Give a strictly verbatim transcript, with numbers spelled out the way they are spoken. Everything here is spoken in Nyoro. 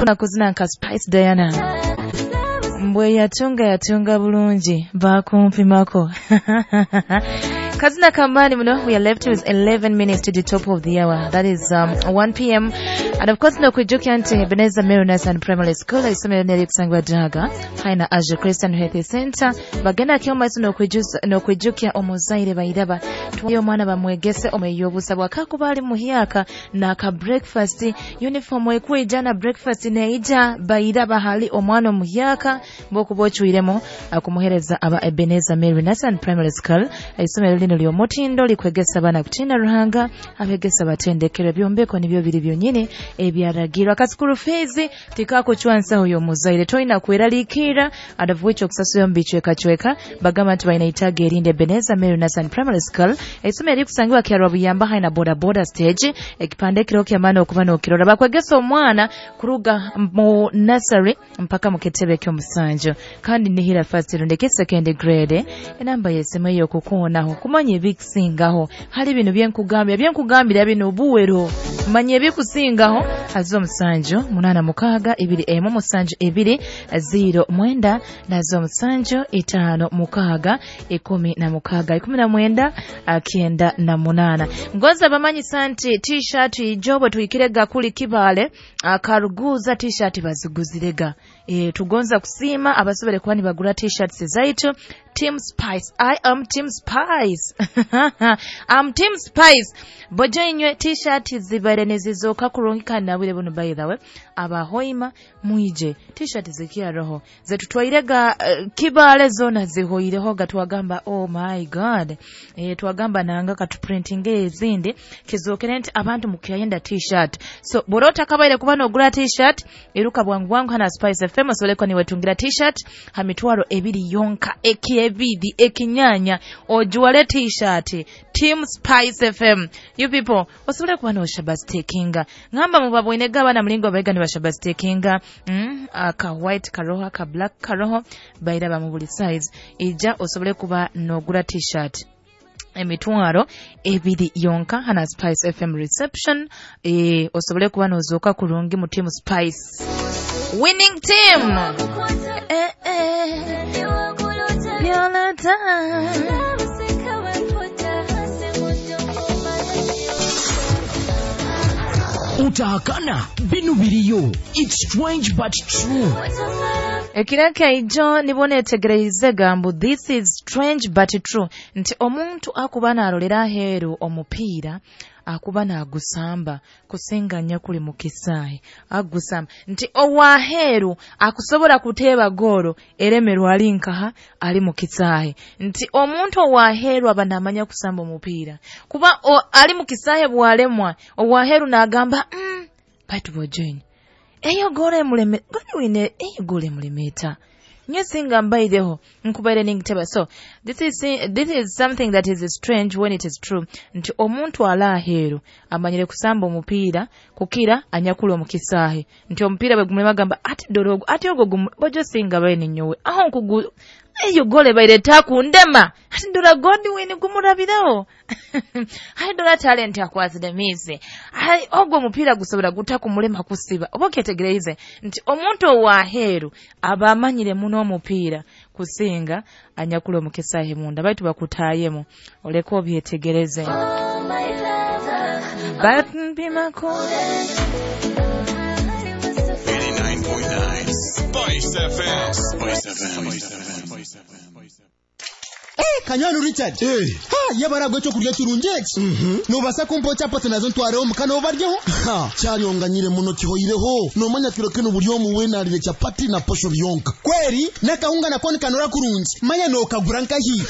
Kuna kuzina nka Spice Diana. Mbwe yatunga yatunga bulungi bakumpimako. Kazina kamani muno. We are left with eleven minutes to the top of the hour, that is um, one p m. And of course nokwijukia nti Ebenezer Mary Nursery Primary School, isomero nerikusangibwa Daga haina Asia Christian Health Center, bagenda kyomaiso nokwijukia omuzaire bairaba tuwayo omwana bamwegese omweyobusa bwakakuba ali muhyaka naka breakfast uniform ekwija na breakfast neija bairaba hali omwana omuhyaka bokuba ocwiremu akumuhereza aba Ebenezer Mary Nursery Primary School. Isomero lino ly'omutindo likwegesa abaana kutiina Ruhanga, abegesa batendekere byombeko nibyo biri byonyini ebyaragirwa. Ka school fees tikakucwa nsaho y'omuzaire, toyina kweraliikirra adavuwicha okusasula omu bicwekacweka. Bagamba nti balina itaaga erindi. Ebenezer Mary Nursery Primary School, isomero erikusangibwa kyarwa buyamba haina boda boda stage, ekipande kiro kyamaani okuba n'okirora. Bakwegesa omwana kuruga mu nursery mpaka mu kitebe ky'omusanju kandi nihira first rundeke second grade. Enamba y'esimu ey'okukuunaho kumanya ebikusingaho hali bino byenkugambira byenkugambira bino buwero manya ebikusingaho azo omusanju munaana mukaaga ibiri emu musanju ibiri ziro mwenda nazo omusanju itaano mukaaga ikumi na mukaaga ikumi na mwenda kyenda na munaana. Ngoza bamanyisa nti T-shirt ijo bwe tuhikirega kuli Kibaale akaruguza T-shirt baziguzirega. E, tugonza kusiima abasobere kuba nibagura T-shirts zaitu. Team Spice, I am Team Spice, I'm Team Spice. Bojo inywe T-shirt zibaire nizizoka kurungi kandi nabwire buno, by the way, abahoima mwije T-shirt zikiaroho zetutwairega uh, Kibaale zona zihoireho ga twagamba, "Oh my God." E, twagamba nanga katuprintinge ezindi kizokere nti abantu mukyayenda T-shirt. So borota kabaire kuba nogura T-shirt, iruka bwangu bwangu hana Spice F M osobole niwetungira T-shirt ha mitwaro ebiri yonka, ekiebidi ekinyanya ojuwale T-shirt Team Spice F M. You people osobole kuba noshabastekinga ngamba mubabwinega abana mulingo baiga nibashabastekinga mm, aka white karoho, aka black karoho, bairaba mu buli size. Ija osobole kuba nogura T-shirt emitwaro ebiri yonka hana Spice F M reception. E, osobole kuba nozooka kurungi mu Team Spice winning team. Eh, eh. Yolata. Utahakana binu biriyo. It's strange but true. Ekiraka ijo nibona etegereize gambu this is strange but true nti omuntu akuba narolera aheeru omupiira akuba nagusamba kusinga kuli mu kisaayi agusamba nti owaheeru akusobola kuteeba goolo eremerwa ali nkaha ali mu kisaayi nti omuntu owaheeru aba namanya kusamba omupiira kuba o, ali mu kisaayi bwalemwa owaheeru n'agamba mm, baitu bojoini eyo goolo emuleme goniwine eyo goolo emulemeeta nyo singa mbaireho nkubaire ningiteba. So this is, this is something that is strange when it is true nti omuntu ala aheeru amanyire kusamba omupiira kukira anyakula omukisaahe nti omupiira bwe gumulema agamba ati dorogo ati ogwo bojo singa baine nyowe aho nkugu eyo gole baire takundema ati ndora Godwin gumurabiraho hai ndora talent akwasire mizi hai ogwo omupiira gusobola gutakumulema kusiba. Oba okyetegereize nti omuntu owaheeru aba amanyire muno omupiira kusinga anyakula omukisahe munda baitu bakutayemu oleke obyetegereze batmpimako. eighty-nine point nine Spice F M. Spice F M. Spice F M. Eh, Kanywani Richard. Eh. Ha, yabara gwecho kurya kirungi eki. Mhm. Nobasa kumpa chapati nazo ntwareho mukana obaryeho? Ha, kyaryonganyire muno kihoireho. Nomanya kiro kino buri omu wena alire chapati na posho byonka. Kweri, nakahunga nako nikanora kurungi. Manya nokagura nkahi.